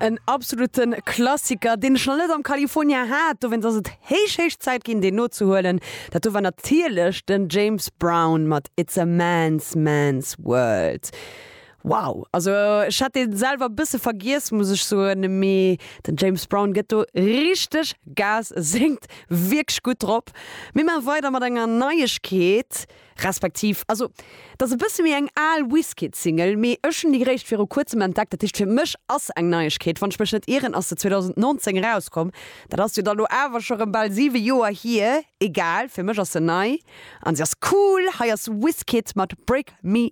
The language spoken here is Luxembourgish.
En absoluten Klassiker, deen ech nach net am California hat, dowéinst ass et héich, héich Zäit ginn, deen nozehuelen. Dat do war natierlech den James Brown mat It's a Man's Man's World. Wow, also ech hat deen selwer e bësse vergiess, muss ech soen, mee den James Brown gëtt do richteg Gas, e séngt wierklech gutt drop. Mir maache weider mat enger Neiegkeet. Respektiv, also et ass e bësse méi eng al Wizkid-Single, mee ech hunn déi réischt viru kuerzem entdeckt. Dat heescht, fir mech ass se eng Neiegkeet. Wann ech mech net ieren, ass se 2019 erauskomm. Dat ass jo da lo awer scho rëm bal 7 Joer hier. Egal, fir mech ass se nei an se ass cool. Hei ass Wizkid mat Break Me.